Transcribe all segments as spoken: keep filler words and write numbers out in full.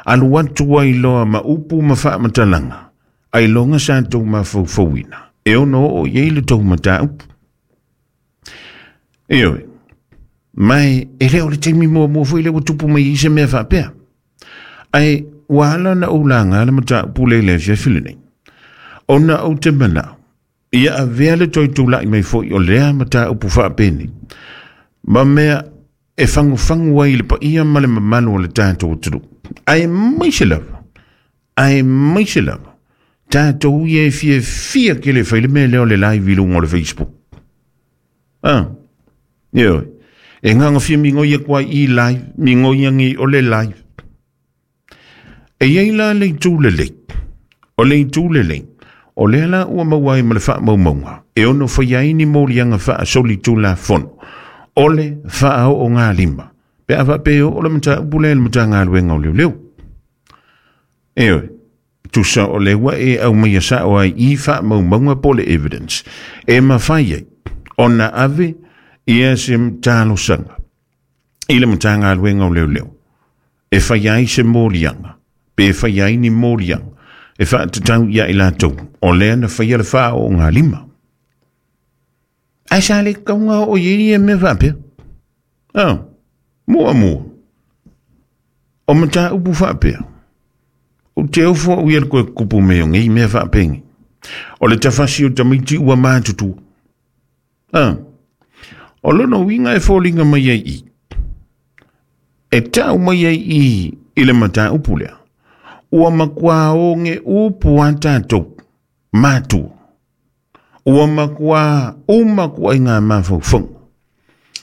Alu atu ai loa ma upu ma faamatalaga ailoga sa tou mafaufauina e ono oo i ai le tou mataupu. Ioe, mai e le o le taimi muamua foi lea ua tupu mai ai se mea faapea. Ae ua ala ona ou laga le mataupu lea i le afiafi lenei, ona ou te manao ia avea le toe tula'i mai foi o lea mataupu faapenei ma mea e fagufagu ai i le paia ma le mamalu o le tatou atunuu, aemaise lava, aemaise lava tatou ia e fiafia tele e fai le mea lea o le live i luga o le Facebook. Ah, ioe, e gagafia migoi atu ai i live, migoi agi o le live. E iai la le itu lelei, o le itu lelei, o lea la ua maua ai ma le faamaumauga e ono faia ai ni moliaga faasolitulafono o le faaoogalima pe a faapea oo le mataupu lea i le Matagaluega o Leoleo. Ioe, tusa o le ua e aumaia sao ai i faamaumauga po o le evidence e mafai ai ona ave ia se talosaga i le Matagaluega o Leoleo e faia ai se moliaga pe faia ai ni moliaga e faatatau ia i latou o lea na faia le faaoogalima. Ae sa le kauga oo i ai ia mea faapea. Ah, muamua o mataupu faapea, ou te ofo au ia le koe kupu mea o nei mea faapegi. O le tafasi o tamaiti ua matutua. Ah, o lona uiga e foliga mai ai i, e tau mai ai i i le mataupu lea, ua matua oge upu a tatou matua, ua matua uma kuaiga mafaufauga,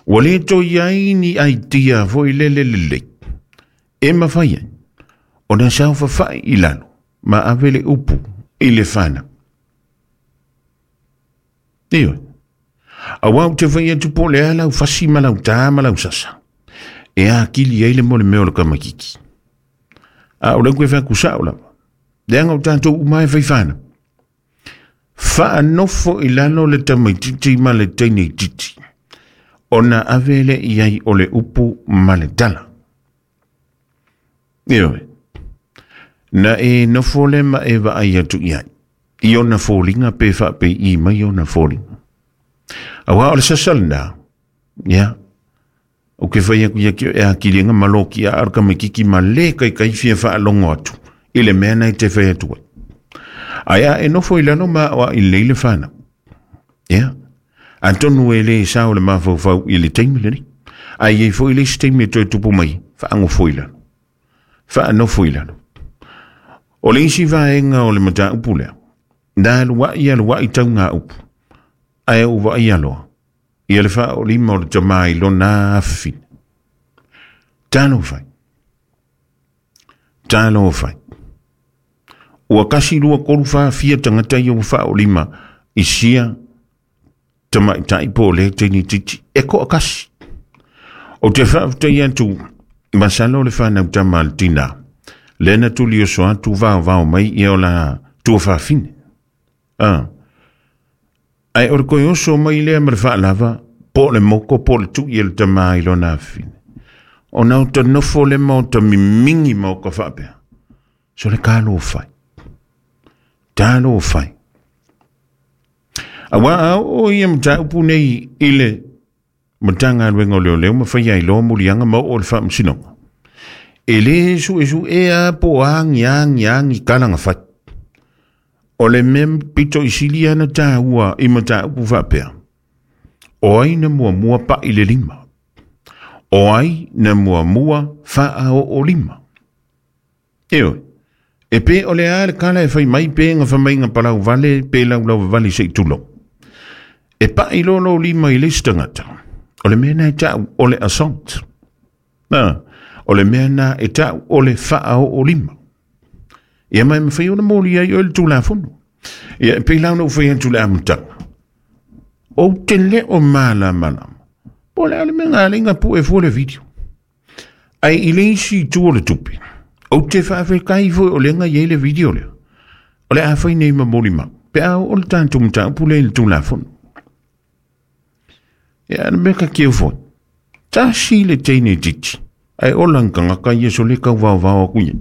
ua le toe i ai ni aitia foi lele lelei e mafai ai ona saofafai i lalo ma ave le upu i le fanau. Ioe, auā ou te fai atu po o le a lau fasi ma lau tā ma lau sasa e akili ai le molemea o le kamakiki. A o lea koe fai atu sao lava, leaga o tatou uma e fai fanau. Faanofo i lalo le tamaitiiti ma le teineitiiti ona ave lea i ai o le upu ma le tala. Ioe, na e nofo le ma e vaai atu i ai i ona foliga pe faapei mai ona foliga. Auā o le sasa lena, ia, ou ke fai atu ia ke e akiliga ma loki a o le kamakiki ma le kaikai fia faalogo atu i le mea na e te fai atu ai. Ae a e nofo i lalo ma aoaʻi lelei le fanau, ia, atonu e lē sao le mafaufau i le taimi lenei, ae iai foi le isi taimi e toe tupu mai, faagofo i lalo, faanofo i lalo. O le isi vaega o le mataupu lea, na aluaʻi aluaʻi taugāupu, ae ou vaai aloa ia le faaolima o le tamā i lona afafine. Talofa e, talofa e. Ua kasi lua tolu fa fia tagata ia ua faaolima i sia tamaʻitaʻi po o lea teine titi e toʻatasi. Ou te faafetai atu masalo le fanau tama a le tinā lea na tuli oso atu vaovao mai ia o la tuafafine. Ah, ae o le koe oso mai lea ma le faalava po o le moko po o le tuʻi e le tamā i lona afafine, ona o ta nofo le ma o ta mimigi ma o ka faapea so le kalofai, talofai. Auā a oo ia mataupu nei i le Matagaluega o Leoleo ma faia ai loa moliaga ma oo i le Faamasinoga, e lē suʻesuʻea po o agi agi agi kalaga fai. O le mea pito i sili ana tāua i mataupu faapea, o ai na muamua paʻi le lima, o ai na muamua faaooolima. Ioe, e pē o le a le kala e fai mai pe gafamaiga palau vale pe laulauavale seʻi tulou, e paʻi loa lou lima i le isi tagata, o le mea na e taʻu o le assault. Ah, o le mea na e taʻu o le faaooolima. Ia ma e mafai ona moli ai oe le tulafono. Ia e pei la ona ou fai atu i le amataga, ou te le o malamalama po o le a le mea galeiga puʻe fua le video. Ae i le isi itu o le tupe, ou te faafetai foi o lea na i ai le video lea, o le a fai nei ma molimau pe a oo le tatou mataupu lea i le tulafono. Ia le mea ka keu foi, tasi le teine titi ae ola ni tagata ia so le tauvaovao atu ia.